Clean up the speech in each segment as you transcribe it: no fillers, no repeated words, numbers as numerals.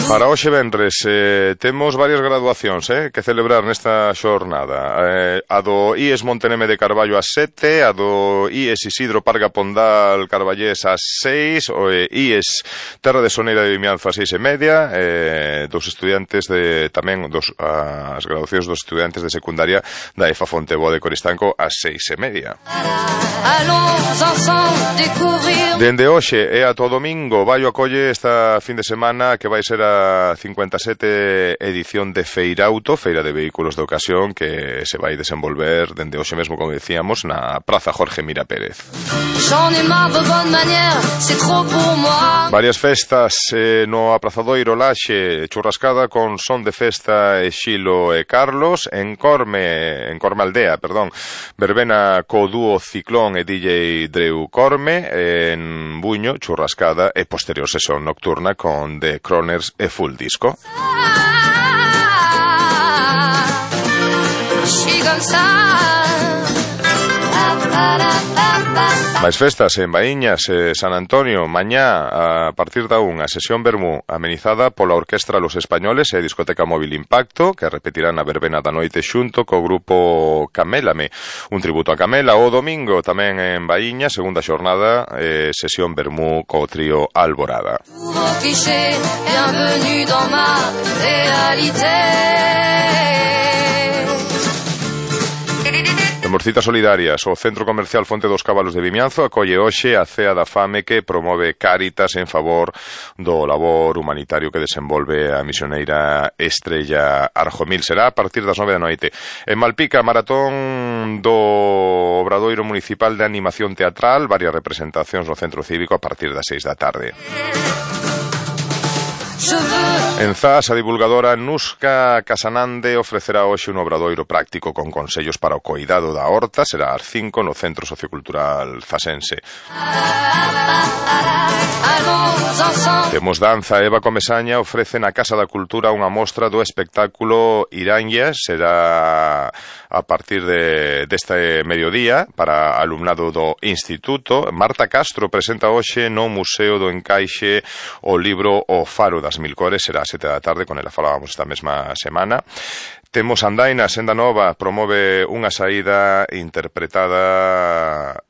Para hoxe venres temos varias graduacións que celebrar nesta xornada. A do IES Monteneme de Carballo ás 7, a do IES Isidro Parga Pondal Carballés ás 6, o IES Terra de Soneira de Vimianzo ás 6:30, dos estudiantes de tamén as graduacións dos estudiantes de secundaria da EFA Fonteboa de Coristanco ás 6:30. Dende hoxe e ata o domingo Baio acolle esta fin de semana que vai ser a 57 edición de Feirauto, Feira de Vehículos de Ocasión, que se vai desenvolver dende hoxe mesmo, como decíamos, na Praza Jorge Mira Pérez. Varias festas no aprazadoiro Laxe, churrascada con son de festa Xilo e Carlos, en Corme Aldea, verbena co dúo Ciclón e DJ Dreu Corme, en Buño, churrascada e posterior sesión nocturna con The Croners e Full Disco. Máis festas en Baíñas, San Antonio, mañá a partir da 1, a sesión vermú amenizada pola Orquestra Los Españoles e a Discoteca Móvil Impacto, que repetirán a verbena da noite xunto co grupo Camélame, un tributo a Camela. O domingo tamén en Baíñas, segunda xornada, sesión vermú co trío Alborada. Temos citas solidarias. O Centro Comercial Fonte dos Cabalos de Vimianzo acolle hoxe a Cea da Fame que promove Cáritas en favor do labor humanitario que desenvolve a misioneira Estrella Arjomil. Será a partir das 9 da noite. En Malpica, maratón do Obradoiro Municipal de Animación Teatral, varias representacións no Centro Cívico a partir das 6 da tarde. En Zas, a divulgadora Nuska Casanande ofrecerá hoxe un obradoiro práctico con consellos para o coidado da horta. Será ás 5 no Centro Sociocultural Zasense. Temos danza. Eva Comesaña ofrece na Casa da Cultura unha mostra do espectáculo Irañas. Será a partir deste mediodía para alumnado do Instituto. Marta Castro presenta hoxe no Museo do Encaixe o libro O Faro das Mil Cores. Será a 7 da tarde, con ela falábamos esta mesma semana. Temos Andaina, Senda Nova promove unha saída interpretada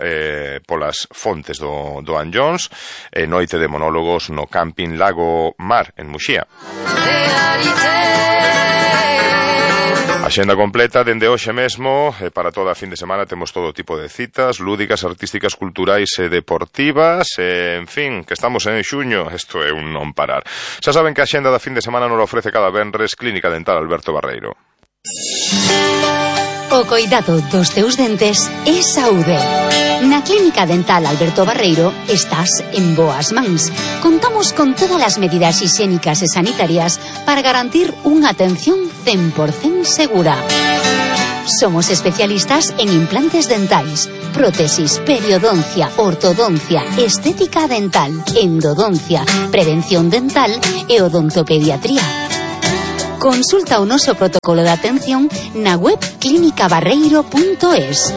polas fontes do Anllóns, e noite de monólogos no Camping Lago Mar en Muxía. Axenda completa dende hoxe mesmo, para toda a fin de semana temos todo tipo de citas lúdicas, artísticas, culturais e deportivas, en fin, que estamos en xuño, isto é un non parar. Xa saben que a axenda da fin de semana nos ofrece cada venres Clínica Dental Alberto Barreiro. O coidado dos teus dentes é saúde. Na Clínica Dental Alberto Barreiro estás en boas mans. Contamos con todas as medidas higiénicas e sanitarias para garantir unha atención 100% segura. Somos especialistas en implantes dentais, prótesis, periodoncia, ortodoncia, estética dental, endodoncia, prevención dental e odontopediatría. Consulta o noso protocolo de atención na web clinicabarreiro.es.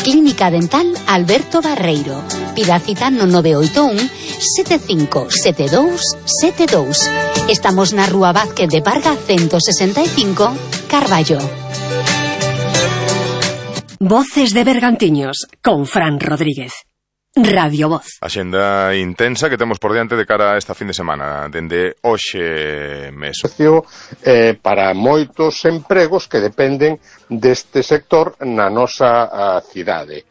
Clínica Dental Alberto Barreiro. Pida cita no 981 757272. Estamos na Rúa Vázquez de Parga 165, Carballo. Voces de Bergantiños, con Fran Rodríguez. Radio Voz. Axenda intensa que temos por diante de cara a esta fin de semana, dende hoxe mesmo. Para moitos empregos que dependen deste sector na nosa cidade.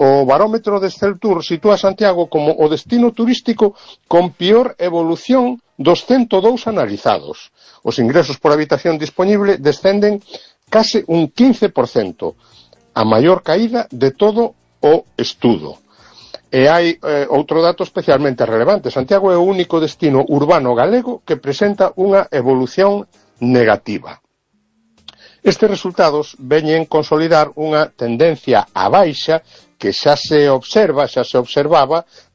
O barómetro de Celtur sitúa Santiago como o destino turístico con peor evolución dos 102 analizados. Os ingresos por habitación disponible descenden case un 15%, a maior caída de todo o estudo. E hai outro dato especialmente relevante. Santiago é o único destino urbano galego que presenta unha evolución negativa. Estes resultados veñen consolidar unha tendencia á baixa que xa se observaba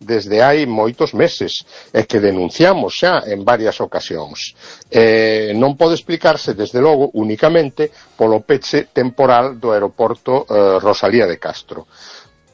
desde hai moitos meses e que denunciamos xa en varias ocasións. Non pode explicarse, desde logo, únicamente polo peche temporal do aeroporto Rosalía de Castro.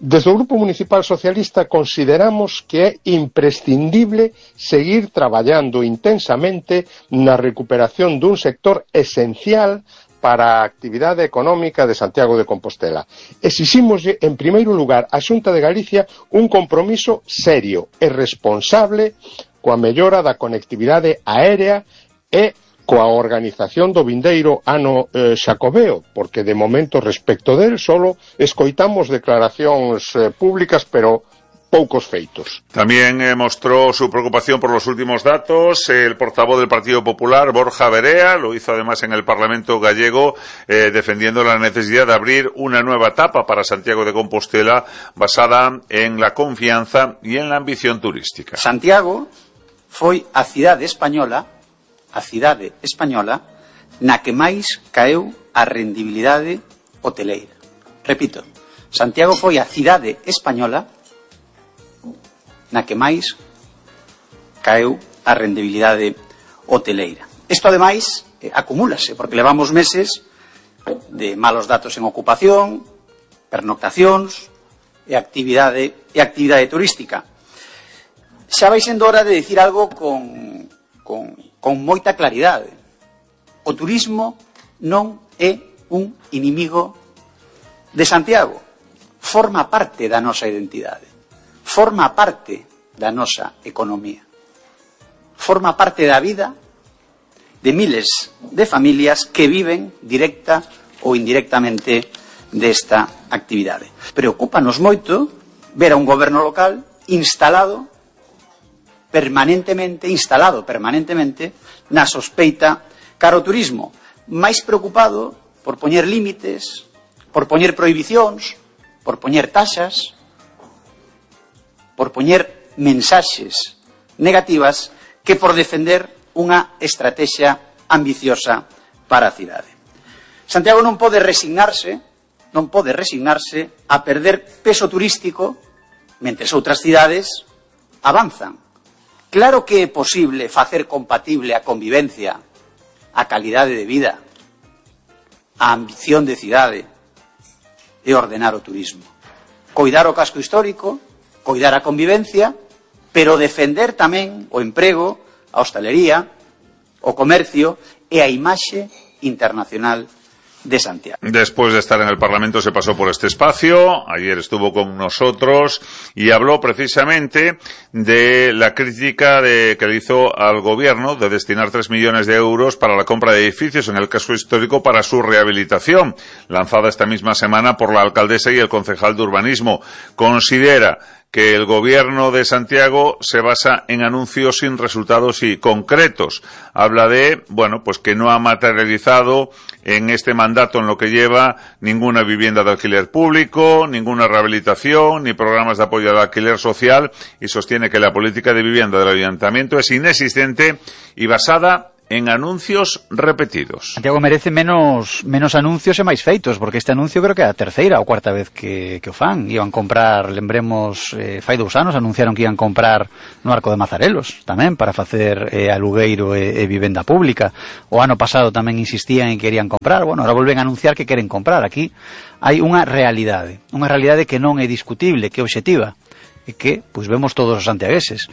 Desde o Grupo Municipal Socialista consideramos que é imprescindible seguir traballando intensamente na recuperación dun sector esencial para a actividade económica de Santiago de Compostela. Exixímoslle, en primeiro lugar, á Xunta de Galicia un compromiso serio e responsable coa mellora da conectividade aérea e coa organización do vindeiro ano xacobeo, porque de momento respecto del solo escoitamos declaracións públicas, pero poucos feitos. También mostró su preocupación por los últimos datos el portavoz del Partido Popular, Borja Verea, lo hizo además en el Parlamento gallego, defendiendo la necesidad de abrir una nueva etapa para Santiago de Compostela basada en la confianza y en la ambición turística. Santiago foi a cidade española na que máis caeu a rendibilidade hoteleira. Repito, Santiago foi a cidade española na que máis caeu a rendibilidade hoteleira. Isto, ademais, acumúlase, porque levamos meses de malos datos en ocupación, pernoctacións e actividade turística. Xa vai sendo hora de dicir algo con moita claridade. O turismo non é un inimigo de Santiago. Forma parte da nosa identidade. Forma parte da nosa economía. Forma parte da vida de miles de familias que viven directa ou indirectamente desta actividade. Preocúpanos moito ver a un goberno local instalado permanentemente na sospeita cara ao turismo, máis preocupado por poñer límites, por poñer prohibicións, por poñer taxas, por poñer mensaxes negativas que por defender unha estrategia ambiciosa para a cidade. Santiago non pode resignarse a perder peso turístico mentres outras cidades avanzan. Claro que é posible facer compatible a convivencia, a calidade de vida, a ambición de cidade e ordenar o turismo. Coidar o casco histórico, coidar a convivencia, pero defender tamén o emprego, a hostalería, o comercio e a imaxe internacional de Santiago. Después de estar en el Parlamento se pasó por este espacio, ayer estuvo con nosotros y habló precisamente de la crítica que le hizo al gobierno de destinar 3 millones de euros para la compra de edificios en el casco histórico para su rehabilitación, lanzada esta misma semana por la alcaldesa y el concejal de urbanismo. Considera que el gobierno de Santiago se basa en anuncios sin resultados y concretos. Habla de, pues que no ha materializado en este mandato, en lo que lleva, ninguna vivienda de alquiler público, ninguna rehabilitación, ni programas de apoyo al alquiler social, y sostiene que la política de vivienda del ayuntamiento es inexistente y basada en anuncios repetidos. Santiago merece menos anuncios e máis feitos, porque este anuncio creo que é a terceira ou cuarta vez que o fan. Iban comprar, lembremos, fai 2 anos anunciaron que iban comprar no Arco de Mazarelos tamén para facer alugueiro e vivenda pública. O ano pasado tamén insistían en que querían comprar. Ahora volven a anunciar que queren comprar. Aquí hai unha realidade que non é discutible, que é obxectiva, e que vemos todos os santiagueses.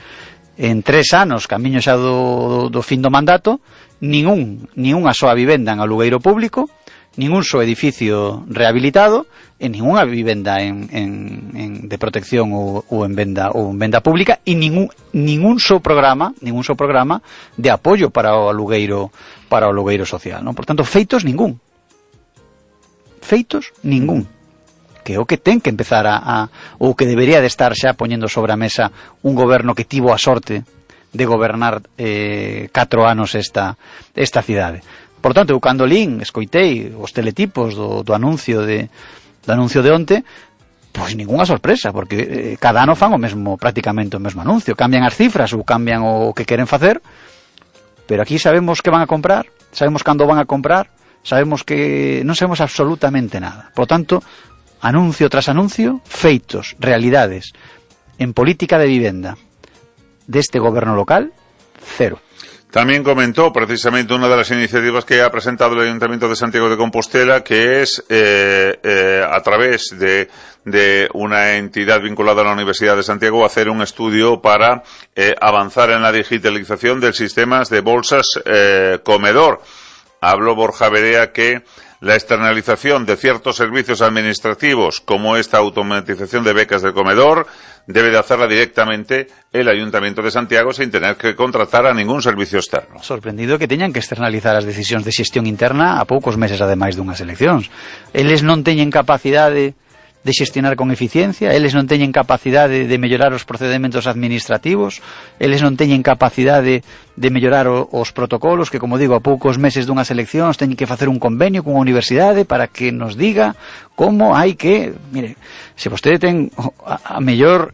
En 3 anos, camiño xa do fin do mandato, ningunha soa vivenda en alugueiro público, ningún só edificio rehabilitado, e ningunha vivenda de protección ou en venda pública, e ningún só programa de apoio para o alugueiro social, non? Por tanto, feitos ningún. Que é o que ten que empezar ou que debería de estar xa poñendo sobre a mesa un goberno que tivo a sorte de gobernar 4 anos esta cidade. Por tanto, eu cando escoitei os teletipos do anuncio de onte, ningunha sorpresa, porque cada ano fan prácticamente o mesmo anuncio, cambian as cifras ou cambian o que queren facer, pero aquí sabemos que van a comprar, sabemos cando van a comprar, sabemos que non sabemos absolutamente nada. Por tanto, anuncio tras anuncio, feitos, realidades en política de vivenda deste goberno local, cero. También comentó precisamente una de las iniciativas que ha presentado el Ayuntamiento de Santiago de Compostela, que es a través de una entidad vinculada a la Universidad de Santiago hacer un estudio para avanzar en la digitalización de sistemas de bolsas comedor. Habló Borja Berea que la externalización de ciertos servicios administrativos, como esta automatización de becas del comedor, debe de hacerla directamente el Ayuntamiento de Santiago sin tener que contratar a ningún servicio externo. Sorprendido que teñan que externalizar as decisións de xestión interna a poucos meses ademais dunhas eleccións. Eles non teñen capacidade de xestionar con eficiencia, eles non teñen capacidade de mellorar os procedementos administrativos, eles non teñen capacidade de mellorar os protocolos que, como digo, a poucos meses dunhas eleccións teñen que facer un convenio cunha universidade para que nos diga como hai que... Mire, se vostede ten o mellor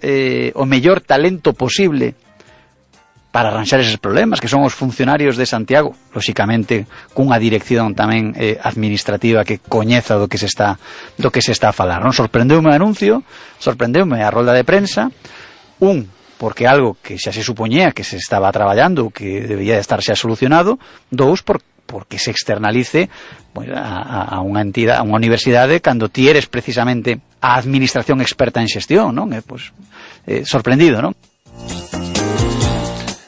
talento posible para arranxar eses problemas, que son os funcionarios de Santiago, lóxicamente cunha dirección tamén administrativa que coñeza do que se está a falar, non? Sorprendeume o anuncio, sorprendeume a rolda de prensa, porque algo que xa se supoñía que se estaba traballando, que debía de estar xa solucionado, porque se externalice a unha entidade, a unha universidade, cando ti eres precisamente a administración experta en xestión, non? Sorprendido, non?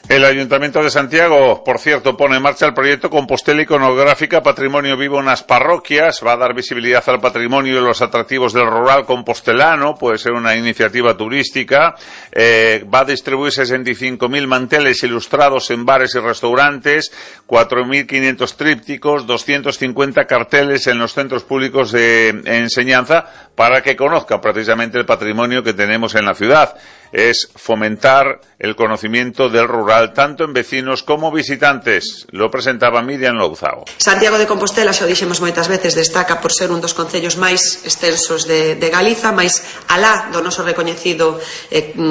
El Ayuntamiento de Santiago, por cierto, pone en marcha el proyecto Compostela Iconográfica Patrimonio Vivo en las Parroquias. Va a dar visibilidad al patrimonio y los atractivos del rural compostelano. Puede ser una iniciativa turística. Va a distribuir 65.000 manteles ilustrados en bares y restaurantes, 4.500 trípticos, 250 carteles en los centros públicos de enseñanza para que conozca precisamente el patrimonio que tenemos en la ciudad. Es fomentar el conocimiento del rural tanto en vecinos como visitantes. Lo presentaba Miriam Louzao. Santiago de Compostela, xa o dixemos moitas veces, destaca por ser un dos concellos máis extensos de Galiza, máis alá do noso recoñecido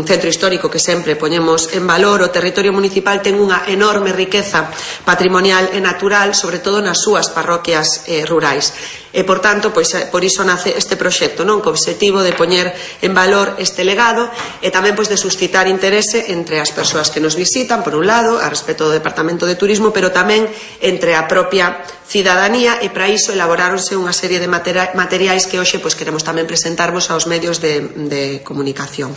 centro histórico que sempre poñemos en valor. O territorio municipal ten unha enorme riqueza patrimonial e natural, sobre todo nas súas parroquias rurais. E, por tanto, pois, por iso nace este proxecto, non? Co obxectivo de poñer en valor este legado e tamén pois de suscitar interese entre as persoas que nos visitan, por un lado, a respecto do Departamento de Turismo, pero tamén entre a propia cidadanía, e para iso elaboráronse unha serie de materiais que hoxe pois queremos tamén presentarvos aos medios de comunicación.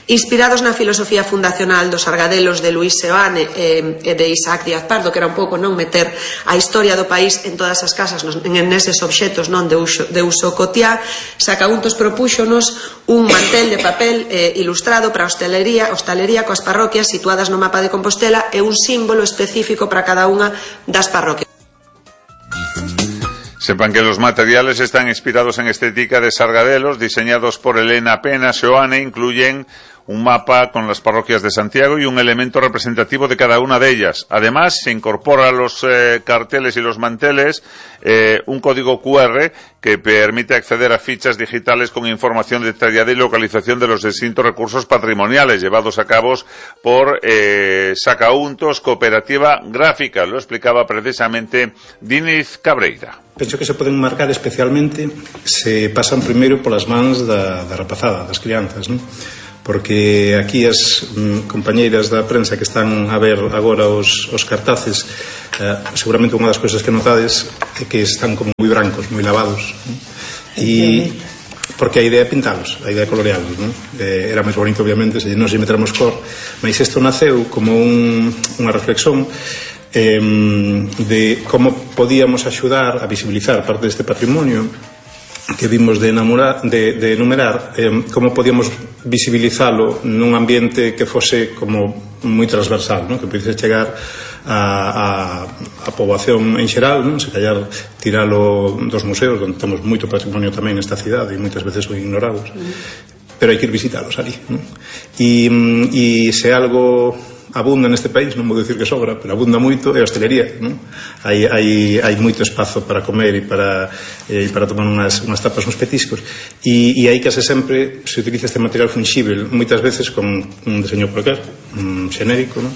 Inspirados na filosofía fundacional dos Argadelos de Luis Seoane e de Isaac Díaz Pardo, que era un pouco non meter a historia do país en todas as casas, neses obxetos non de uso cotiá, Sacauntos propúxonos un mantel de papel ilustrado para a hostalería coas parroquias situadas no mapa de Compostela e un símbolo específico para cada unha das parroquias. Sepan que los materiales están inspirados en estética de Sargadelos, diseñados por Elena Pena Seoane, incluyen un mapa con las parroquias de Santiago y un elemento representativo de cada una de ellas. Además, se incorpora a los carteles y los manteles un código QR que permite acceder a fichas digitales con información detallada y localización de los distintos recursos patrimoniales llevados a cabo por Sacauntos Cooperativa Gráfica. Lo explicaba precisamente Diniz Cabreira. Penso que se poden marcar especialmente se pasan primeiro polas mans da rapazada, das crianzas, non? Porque aquí as compañeiras da prensa que están a ver agora os cartaces, seguramente unha das cousas que notades é que están como moi brancos, moi lavados, non? E porque a idea é pintalos, a idea é colorealos, non? Era máis bonito, obviamente, se non se meteramos cor, mas isto naceu como unha reflexión de como podíamos axudar a visibilizar parte deste patrimonio que vimos de enumerar, como podíamos visibilizalo nun ambiente que fose como moi transversal, non? Que pudese chegar a poboación en xeral, non? Se callar tiralo dos museos, onde temos moito patrimonio tamén nesta cidade e moitas veces son ignorados, pero hai que ir visitalos ali, non? E se algo abunda neste país, non vou dicir que sobra, pero abunda moito, é a hostelería, non? Hai moito espazo para comer e para tomar unhas tapas, uns petiscos, e aí case sempre se utiliza este material fungible, moitas veces con un deseño cualquier, xenérico, non?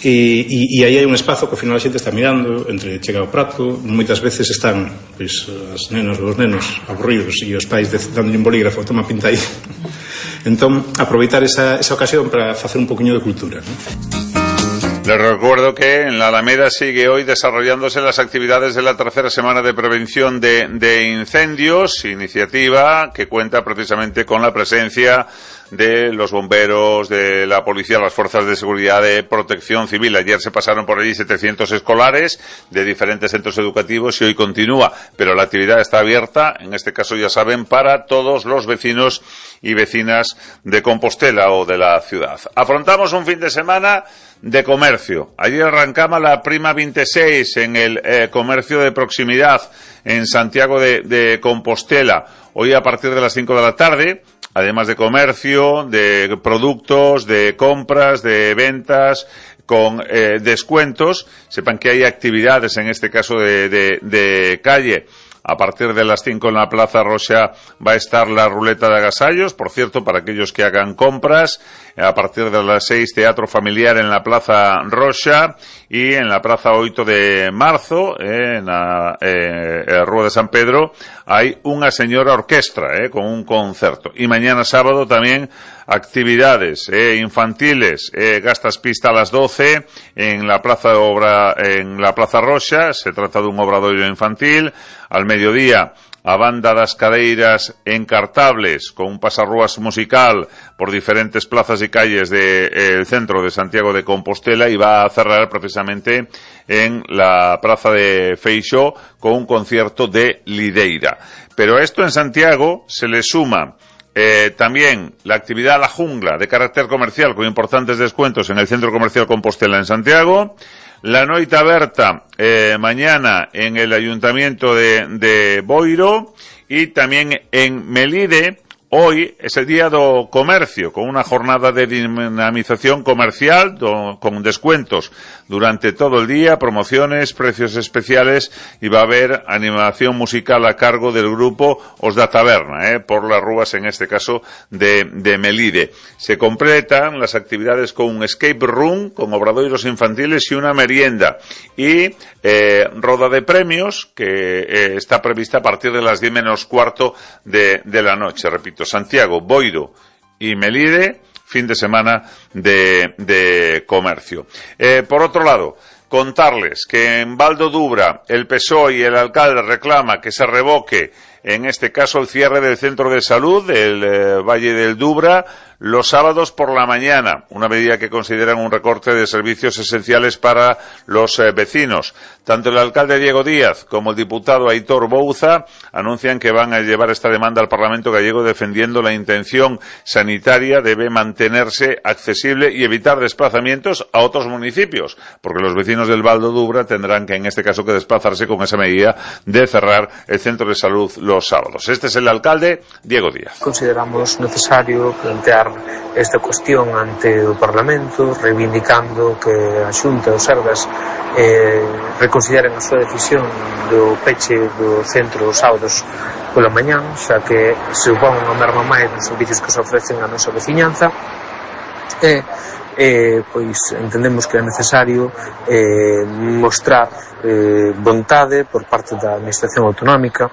E aí hai un espazo que ao final a xente está mirando entre chega ao prato, moitas veces están pois, as nenas ou os nenos aburridos e os pais dándolle un bolígrafo, toma pinta aí. Entón, aproveitar esa ocasión para facer un poquinho de cultura, non? Les recuerdo que en la Alameda sigue hoy desarrollándose las actividades de la tercera semana de prevención de incendios, iniciativa que cuenta precisamente con la presencia de los bomberos, de la policía, las fuerzas de seguridad, de protección civil. Ayer se pasaron por allí 700 escolares de diferentes centros educativos y hoy continúa, pero la actividad está abierta, en este caso ya saben, para todos los vecinos y vecinas de Compostela o de la ciudad. Afrontamos un fin de semana de comercio. Ayer arrancaba la Prima 26 en el comercio de proximidad en Santiago de Compostela. Hoy a partir de las 5 de la tarde, además de comercio, de productos, de compras, de ventas, con descuentos, sepan que hay actividades, en este caso de calle. A partir de las 5 en la Plaza Roxa va a estar la ruleta de agasallos, por cierto, para aquellos que hagan compras. A partir de las 6, teatro familiar en la Plaza Roxa y en la Plaza 8 de marzo, en la Rúa de San Pedro, hay una señora orquestra, con un concierto. Y mañana sábado también actividades infantiles, gastas pista a las 12 en la Plaza Roxa, se trata de un obradoiro infantil. Al mediodía, a banda das cadeiras encartables con un pasarrúas musical por diferentes plazas y calles del centro de Santiago de Compostela, y va a cerrar precisamente en la plaza de Feixó con un concierto de lideira. Pero a esto en Santiago se le suma también la actividad La Jungla de carácter comercial con importantes descuentos en el Centro Comercial Compostela en Santiago. La Noite Aberta mañana en el Ayuntamiento de Boiro, y también en Melide. Hoy es el día do comercio, con una jornada de dinamización comercial con descuentos durante todo el día, promociones, precios especiales, y va a haber animación musical a cargo del grupo Os da Taberna, por las Rúas, en este caso de Melide. Se completan las actividades con un escape room, con obradoiros infantiles y una merienda, y roda de premios que está prevista a partir de las 10 menos cuarto de la noche. Repito, Santiago, Boiro y Melide, fin de semana de comercio. Por otro lado, contarles que en Val do Dubra el PSOE y el alcalde reclama que se revoque, en este caso, el cierre del centro de salud del Valle del Dubra los sábados por la mañana, una medida que consideran un recorte de servicios esenciales para los vecinos. Tanto el alcalde Diego Díaz como el diputado Aitor Bouza anuncian que van a llevar esta demanda al Parlamento gallego, defendiendo la intención sanitaria debe mantenerse accesible y evitar desplazamientos a otros municipios, porque los vecinos del Val do Dubra tendrán que, en este caso, que desplazarse con esa medida de cerrar el centro de salud los sábados. Este es el alcalde Diego Díaz. Consideramos necesario plantear esta cuestión ante o Parlamento, reivindicando que a Xunta e os Sergas reconsideren a súa decisión do peche do centro os sábados pola mañán, xa que se supón unha merma máis nos servicios que se ofrecen a nosa veciñanza, pois entendemos que é necesario mostrar vontade por parte da Administración Autonómica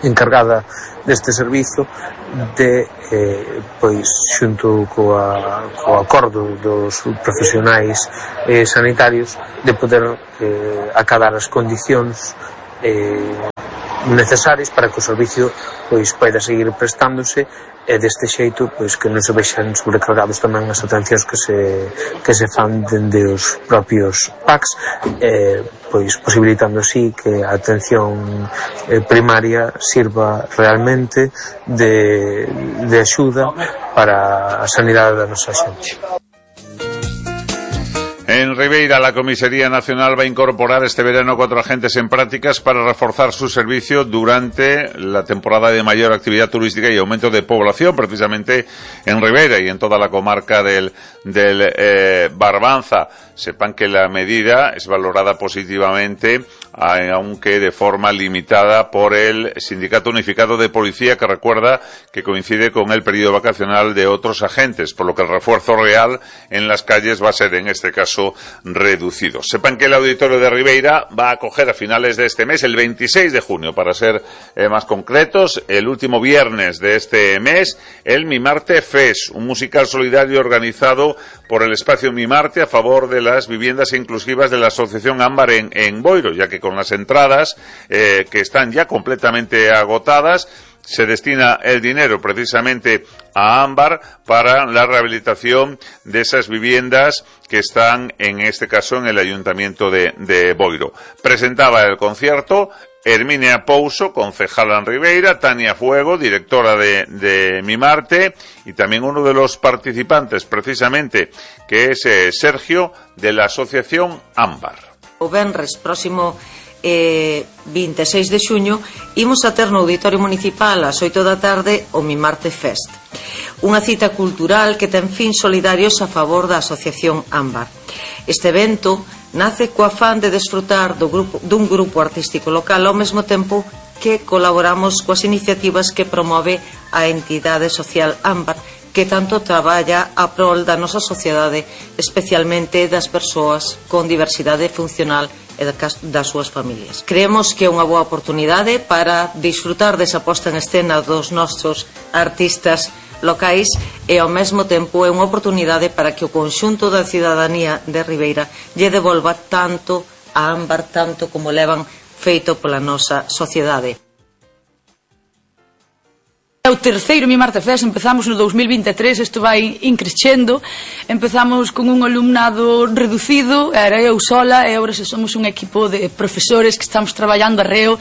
encargada deste servizo de, pois, xunto co acordo dos profesionais sanitarios, de poder acadar as condicións necesarias para que o servicio pois poida seguir prestándose, e deste xeito pois que non se vexan sobrecargados tamén as atencións que se fan dende os propios PACs, pois posibilitando así que a atención primaria sirva realmente de axuda para a sanidade da nosa xente. En Ribeira, la Comisaría Nacional va a incorporar este verano 4 agentes en prácticas para reforzar su servicio durante la temporada de mayor actividad turística y aumento de población, precisamente en Ribeira y en toda la comarca del Barbanza. Sepan que la medida es valorada positivamente, aunque de forma limitada, por el Sindicato Unificado de Policía, que recuerda que coincide con el periodo vacacional de otros agentes, por lo que el refuerzo real en las calles va a ser, en este caso, reducido. Sepan que el Auditorio de Ribeira va a acoger a finales de este mes, el 26 de junio, para ser más concretos, el último viernes de este mes, el Mimarte Fest, un musical solidario organizado por el espacio Mi Marte a favor de las viviendas inclusivas de la Asociación Ámbar en Boiro, ya que con las entradas que están ya completamente agotadas, se destina el dinero precisamente a Ámbar para la rehabilitación de esas viviendas que están, en este caso, en el Ayuntamiento de Boiro. Presentaba el concierto Herminia Pouso, concejala en Ribeira, Tania Fuego, directora de Mi Marte, y también uno de los participantes, precisamente, que es Sergio, de la Asociación Ámbar. O venres próximo 26 de xuño imos a ter no Auditorio Municipal ás 8 da tarde o Mi Marte Fest, unha cita cultural que ten fins solidarios a favor da Asociación Ámbar. Este evento nace co afán de desfrutar dun grupo artístico local ao mesmo tempo que colaboramos coas iniciativas que promove a entidade social Ámbar, que tanto traballa a prol da nosa sociedade, especialmente das persoas con diversidade funcional e das súas familias. Creemos que é unha boa oportunidade para disfrutar desa posta en escena dos nosos artistas locais e ao mesmo tempo é unha oportunidade para que o conxunto da cidadanía de Ribeira lle devolva tanto a Ámbar, tanto como levan feito pola nosa sociedade. É o terceiro Mi Marte Fest, empezamos no 2023, isto vai increchendo, empezamos con un alumnado reducido, era eu sola, e agora somos un equipo de profesores que estamos traballando arreo,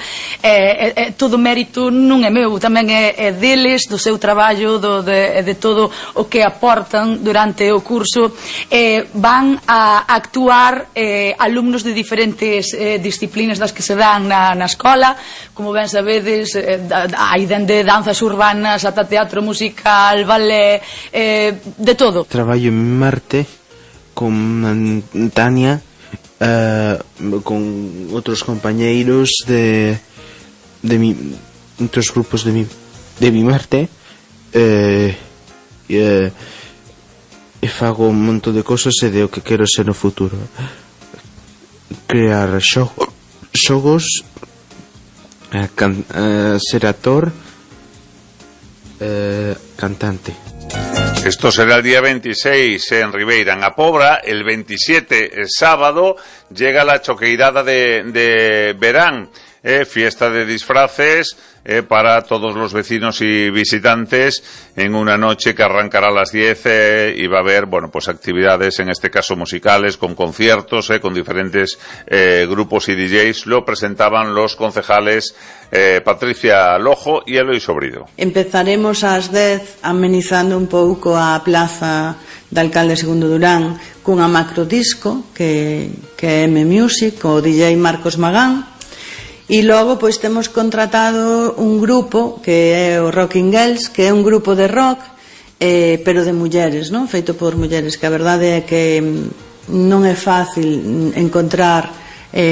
todo o mérito non é meu, tamén é deles, do seu traballo, de todo o que aportan durante o curso, van a actuar alumnos de diferentes disciplinas das que se dan na escola, como ben sabedes, hai dende danzas urbanas ata teatro musical, ballet, de todo. Traballo en Mi Marte con Tania, con outros compañeiros de outros grupos de Mi Marte, e fago un montón de cosas e de o que quero ser no futuro. Crear xogos, ser actor, cantante. Esto será el día 26 en Ribeira, en A Pobra. El 27, sábado, llega la choqueirada de verán, fiesta de disfraces para todos los vecinos y visitantes en una noche que arrancará a las 10 y va a haber, bueno, pues actividades, en este caso musicales, con conciertos, con diferentes grupos y DJs. Lo presentaban los concejales Patricia Lojo y Eloy Sobrido. Empezaremos ás 10 amenizando un pouco a plaza da Alcalde Segundo Durán cunha macrodisco que é M-Music, o DJ Marcos Magán. E logo pois temos contratado un grupo que é o Rocking Girls, que é un grupo de rock, pero de mulleres, non? Feito por mulleres, que a verdade é que non é fácil encontrar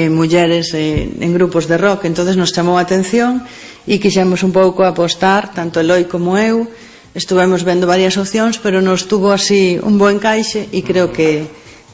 mulleres en grupos de rock, entonces nos chamou a atención e quixemos un pouco apostar, tanto Eloi como eu, estuvemos vendo varias opcións, pero nos tuvo así un bo encaixe e creo que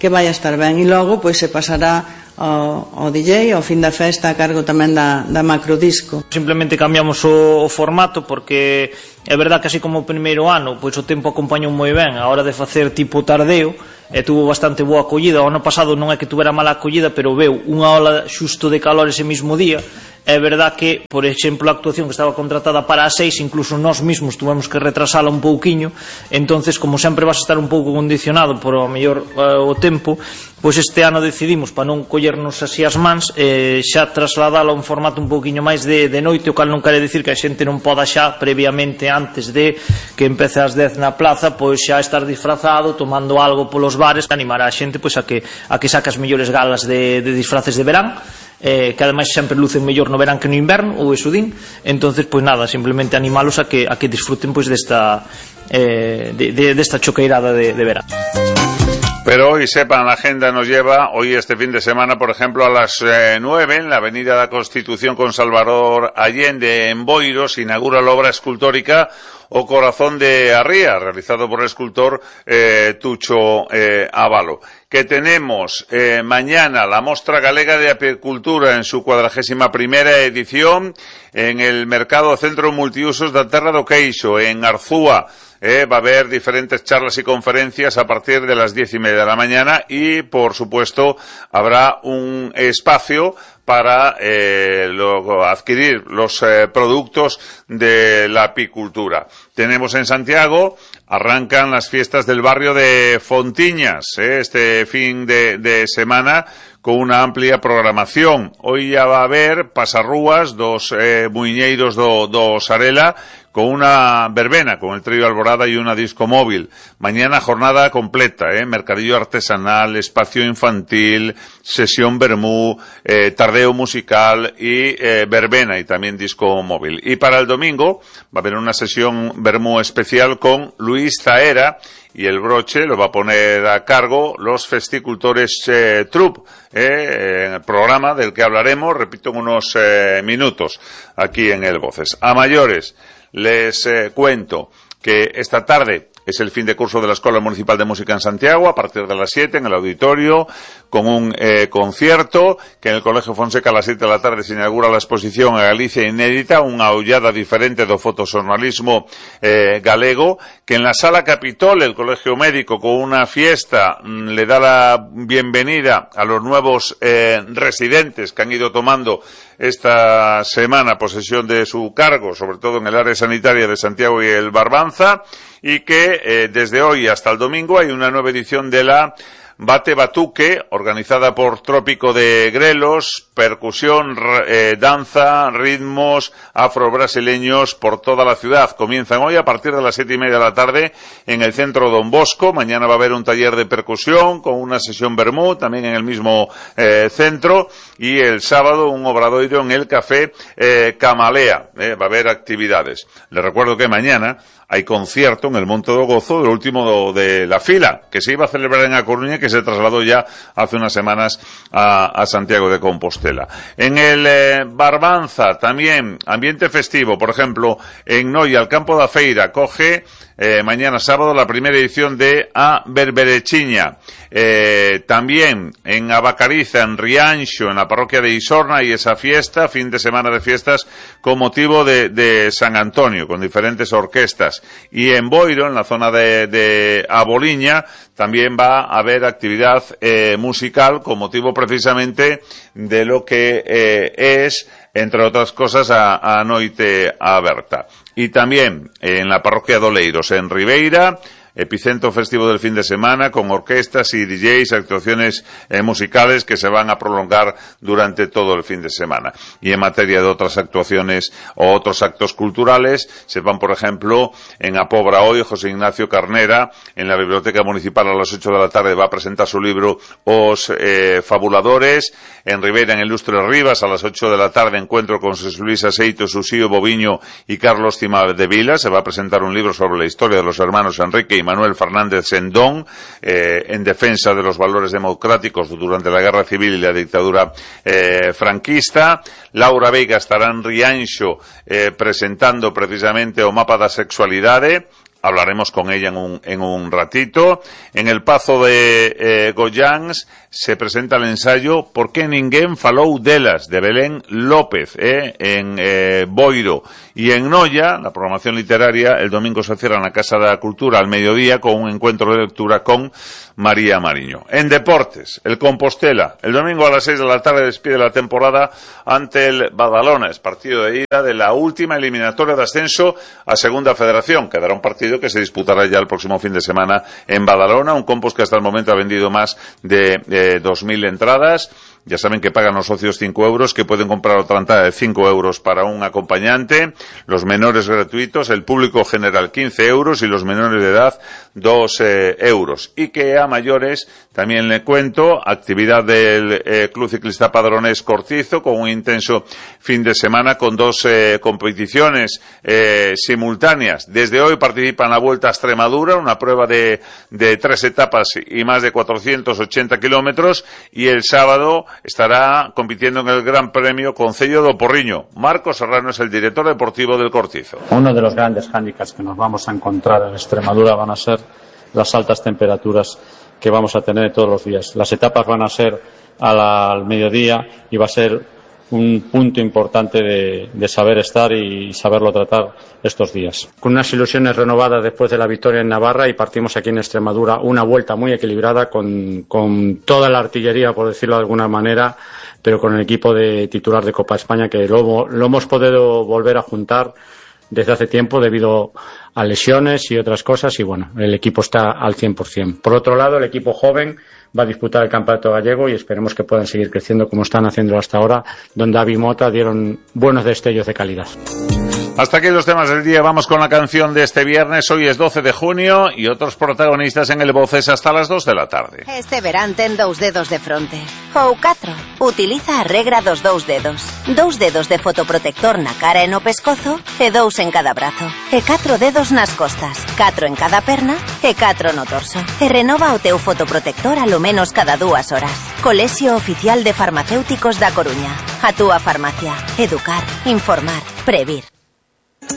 vai a estar ben. E logo pois se pasará ao DJ ao fin da festa a cargo tamén da macrodisco. Simplemente cambiamos o formato porque é verdad que así como o primeiro ano pois o tempo acompañou moi ben a hora de facer tipo tardeo e tuvo bastante boa acollida. O ano pasado non é que tuvera mala acollida, pero veu unha ola xusto de calor ese mismo día. É verdad que, por exemplo, a actuación que estaba contratada para as 6, incluso nós mesmos tuvemos que retrasala un pouquiño. Entonces, como sempre vas a estar un pouco condicionado por o mellor o tempo, pois este ano decidimos, para non collernos así as mans, xa trasladala a un formato un pouquiño máis de noite, o cal non quere dicir que a xente non poda xa previamente, antes de que empece ás 10 na plaza, pois xa estar disfrazado, tomando algo polos bares, animar a xente pois a que saque as mellores galas de disfraces de verán, que ademais sempre lucen mellor no verán que no inverno, ou eso din. Entonces, pois nada, simplemente animalos a que disfruten pois desta choqueirada de verán. Pero hoy, sepan, la agenda nos lleva hoy este fin de semana, por ejemplo, a las 9 en la Avenida da Constitución con Salvador Allende en Boiro se inaugura la obra escultórica O Corazón de Arría, realizado por el escultor Tucho Avalo. Que tenemos mañana la Mostra Galega de Apicultura en su 41ª edición en el Mercado Centro Multiusos da Terra do Queixo, en Arzúa. va a haber diferentes charlas y conferencias a partir de las 10:30 de la mañana y, por supuesto, habrá un espacio para adquirir los productos de la apicultura. Tenemos en Santiago, arrancan las fiestas del barrio de Fontiñas, este fin de semana, con una amplia programación. Hoy ya va a haber pasarrúas dos muiñeiros do Sarela, con una verbena, con el trío Alborada y una disco móvil. Mañana jornada completa, mercadillo artesanal, espacio infantil, sesión vermú, tardeo musical y verbena y también disco móvil. Y para el domingo va a haber una sesión vermú especial con Luis Zaera, y el broche lo va a poner a cargo los Festicultores Troupe, en el programa del que hablaremos, repito, en unos minutos aquí en El Voces. A mayores, les cuento que esta tarde es el fin de curso de la Escuela Municipal de Música en Santiago, a partir de las 7 en el auditorio, con un concierto, que en el Colegio Fonseca a las 7 de la tarde se inaugura la exposición a Galicia Inédita, unha ollada diferente do fotoxornalismo galego, que en la Sala Capitol, el Colegio Médico, con una fiesta, le da la bienvenida a los nuevos residentes que han ido tomando esta semana posesión de su cargo, sobre todo en el área sanitaria de Santiago y el Barbanza, y que desde hoy hasta el domingo hay una nueva edición de la Bate Batuque, organizada por Trópico de Grelos, percusión, danza, ritmos afro-brasileños por toda la ciudad. Comienzan hoy a partir de las 7:30 de la tarde en el centro Don Bosco. Mañana va a haber un taller de percusión con una sesión vermú, también en el mismo centro. Y el sábado un obradoiro en el Café Camalea. Va a haber actividades. Les recuerdo que mañana hay concierto en el Monte do Gozo, el último de la fila, que se iba a celebrar en A Coruña, que se trasladó ya hace unas semanas a Santiago de Compostela. En el Barbanza también, ambiente festivo, por ejemplo, en Noia, el Campo da Feira, coge mañana sábado la primera edición de A Berberechiña. También en Abacariza, en Rianxo, en la parroquia de Isorna, y esa fiesta, fin de semana de fiestas con motivo de San Antonio, con diferentes orquestas. Y en Boiro, en la zona de Aboliña, también va a haber actividad musical con motivo precisamente de lo que es, entre otras cosas, a Noite Aberta. Y también en la parroquia de Oleiros, en Ribeira, epicentro festivo del fin de semana, con orquestas y DJs, actuaciones musicales que se van a prolongar durante todo el fin de semana. Y en materia de otras actuaciones o otros actos culturales, se van, por ejemplo, en Apobra hoy, José Ignacio Carnera, en la Biblioteca Municipal a las 8 de la tarde va a presentar su libro Os Fabuladores. En Ribeira, en Ilustre Rivas, a las 8 de la tarde, encuentro con José Luis Aseito, Susío Boviño y Carlos Cima de Vila. Se va a presentar un libro sobre la historia de los hermanos Enrique y Manuel Fernández Sendón, en defensa de los valores democráticos durante la Guerra Civil y la dictadura franquista. Laura Veiga estará en Rianxo presentando precisamente o mapa da sexualidade. Hablaremos con ella en un ratito. En el Pazo de Goyáns se presenta el ensayo Por que ninguén falou delas, de Belén López, en Boiro. Y en Noia, la programación literaria, el domingo se cierra en la Casa da Cultura al mediodía con un encuentro de lectura con María Mariño. En deportes, el Compostela, el domingo a las 6 de la tarde despide la temporada ante el Badalona. Es partido de ida de la última eliminatoria de ascenso a Segunda Federación. Quedará un partido que se disputará ya el próximo fin de semana en Badalona, un Compos que hasta el momento ha vendido más de 2.000 entradas. Ya saben que pagan los socios 5 euros, que pueden comprar otra entrada de 5 euros para un acompañante, los menores gratuitos, el público general 15 euros y los menores de edad 2 euros. Y que a mayores, también le cuento, actividad del Club Ciclista Padrones Cortizo, con un intenso fin de semana con 2 competiciones simultáneas. Desde hoy participa en la Vuelta a Extremadura, una prueba de 3 etapas y más de 480 kilómetros, y el sábado estará compitiendo en el Gran Premio Concello do Porriño. Marcos Serrano es el director deportivo del Cortizo. Uno de los grandes hándicaps que nos vamos a encontrar en Extremadura van a ser las altas temperaturas que vamos a tener todos los días. Las etapas van a ser al mediodía y va a ser un punto importante de saber estar y saberlo tratar estos días. Con unas ilusiones renovadas después de la victoria en Navarra, y partimos aquí en Extremadura una vuelta muy equilibrada con toda la artillería, por decirlo de alguna manera, pero con el equipo de titular de Copa España, que lo hemos podido volver a juntar desde hace tiempo debido a lesiones y otras cosas, y bueno, el equipo está al 100%. Por otro lado, el equipo joven va a disputar el Campeonato Gallego y esperemos que puedan seguir creciendo como están haciéndolo hasta ahora, donde Avi Mota dieron buenos destellos de calidad. Hasta aquí los temas del día. Vamos con la canción de este viernes. Hoy es 12 de junio y otros protagonistas en el Voces hasta las 2 de la tarde. Este verán ten 2 dedos de fronte. Ou 4. Utiliza a regra dos 2 dedos. 2 dedos de fotoprotector na cara e no pescozo e 2 en cada brazo. E 4 dedos nas costas. 4 en cada perna e 4 no torso. E renova o teu fotoprotector a lo menos cada 2 horas. Colexio Oficial de Farmacéuticos da Coruña. A túa farmacia. Educar, informar, previr.